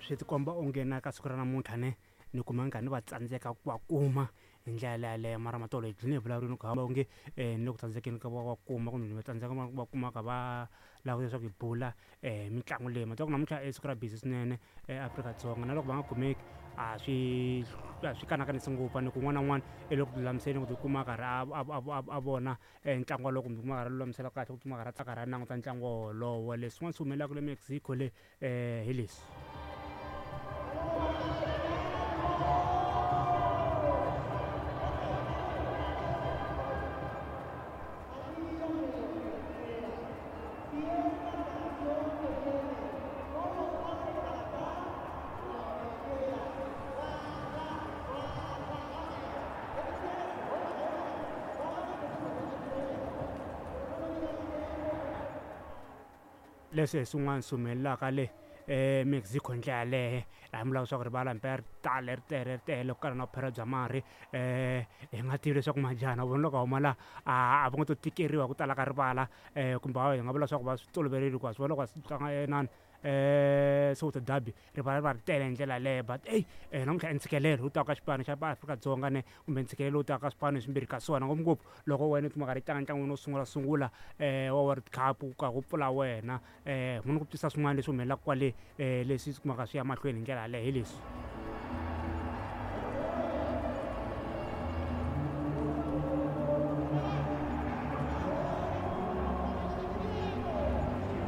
Swi tikomba onge na ka siku ra namuntlha ne ni kuma ni karhi ni va tsandzeka ku va kuma hi ndlela yaleyo mara matolo hi dlina hi vulavuleni ku hamba onge ni le ku tsandzekeni ka va kuma kumbe va tsandzeka va kumaka va lava leswaku hi bula mitlangu leyi. Ma tiva ku namuntlha i siku ra busy swinene eAfrika-Dzonga na loko va nga kumeki a swi a swi kanakanisi ngopfu a ni ku un'wana na un'wana i le ku lulamiseni ku tikuma a karhi a vona ntlangu wolowo kumbe kuma a karhi a lulamisela kahle ku tikuma a karhi a karhi a languta ntlangu wolowo. Leswin'wana swi humelelaka le Mexico le hi leswi. Leswi hi swin'wana swi humelelaka le eMexico hi ndlela yaleyo laha mi vulaka leswaku rivala himpela ri tale ri tele ri tele ku kala na vuphelo bya marhi hi nga tivi leswaku majaha na vona loko a huma la a va nga to tikeriwa hi ku tala ka rivala kumbe hi nga vula leswaku va swi toloverile hikuva swi vona loko va swi tlanga inani Soweto Derby rivala ri va ri tele hi ndlela yaleyo but eyi namuntlha i ntshikelelo lowu taka ka xipano xa Afrika-Dzonga ne kumbe ntshikelelo lowu taka ka swipano hi swimbirhi ka swona ngopfungopfu loko wena u kuma karhi yi tlanga ntlangu wo sungula sungula wa World Cup ku karhi ku pfula wena ni ku tisa swin'wana leswi humelelaka kwale leswi kumaka swi ya mahlweni hi ndlela yaleyo hi leswi.